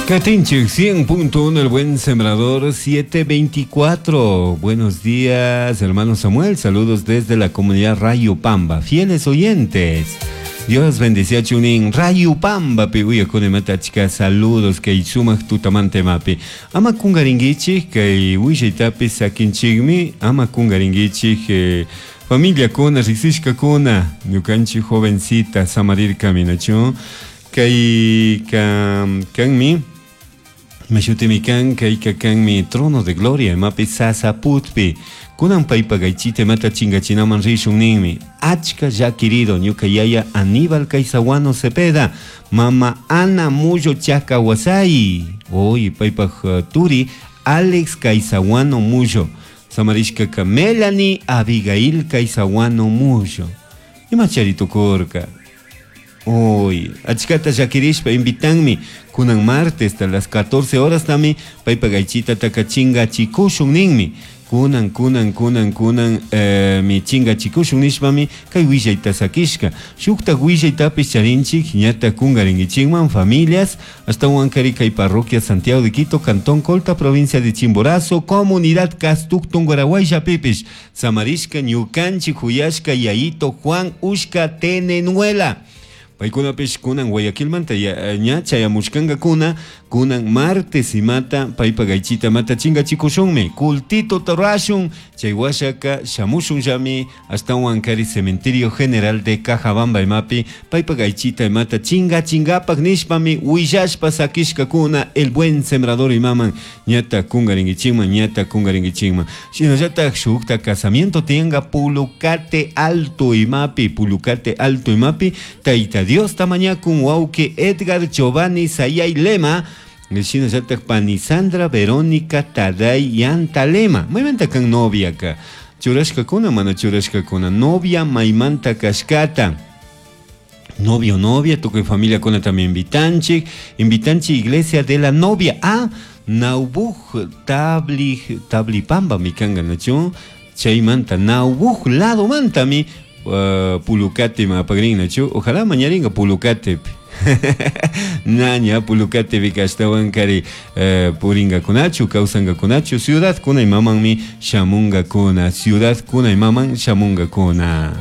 Catinchik 100.1 El Buen Sembrador 724. Buenos días, hermano Samuel. Saludos desde la comunidad Rayo Pamba. Fieles oyentes. Dios bendice a Chunin. Rayo Pamba, piuya kunematachka. Saludos, kay sumak tutamante mapi. Ama kungaringichik, kay willaytapi sakinchikmi. Ama kungaringichik, familia kuna, riksishkakuna. Ñukanchik jovencita, samarirkami, nachu. Kay kanmi, mashutimi kan, kayka kanmi trono de gloria, imapi sasaputpi. Kunan paypa gaychita imata chingachinaman rishun ninmi. Achka llakirido ñuka yaya Aníbal Caizahuano Cepeda, mama Ana Mullo Chacahuasay, hoy paypaj turi Alex Caizahuano Mullo, samarishkaka Melanie Abigail Caizahuano Mullo. Imachari tukurka. Uy, achkata llakirishpa invitanmi kunan martes hasta las 14 horas tami paypa gaychita takachinga chikushun ninmi. Kunan, kunan, kunan, kunan, mi chinga chikushun nishpami kay willayta sakishka. Shuktak willaytapish charinchik ñata kungarinkichikman familias hasta Huancarí kay parroquia Santiago de Quito, Cantón Colta, provincia de Chimborazo, comunidad Castuc Tungurahua pipish samarishka ñukanchik huyashka Yayito Juan Ushka Tenenuela. Paykunapish kunan Guayaquilmanta ña chayamushkankakuna, kunan martes imata paypa gaychita mata chingachikushunmi, cultito rurashun, chay washaka shamushunllami hasta Huancarí Cementerio General de Cajabamba imapi paypa gaychita imata chingachingapak nishpami willashpa sakishkakuna el buen sembrador imaman ñata kungarinkichikman, ñata kungarinkichikman. Shinallatak shukta casamiento tiyanka Pulucate Alto imapi, Pulucate Alto imapi, Tayta Dios tamañakun wawki Edgar Giovanni Sayay Lema, shinallatak pani Sandra Verónica Taday Yanta Lema. Maymanta kan novia ka. Churashkakuna mana churashkakuna. Novia maymanta kashkata. Novio, novia, tukuy familia kuna también invitanchik. Invitanchik iglesia de la novia. Ah, Naubuj tabli, tablipamba mikanga nachu. Chaymanta Naubuj lado mantami, Pulucate mapagrin nachu. Ojalá mañaringa Pulucate. Naña Pulucate vikashtawan kari, puringakunachu, kawsangakunachu, ciudad kuna imamanmi shamungakuna, ciudad kuna imaman shamungakuna.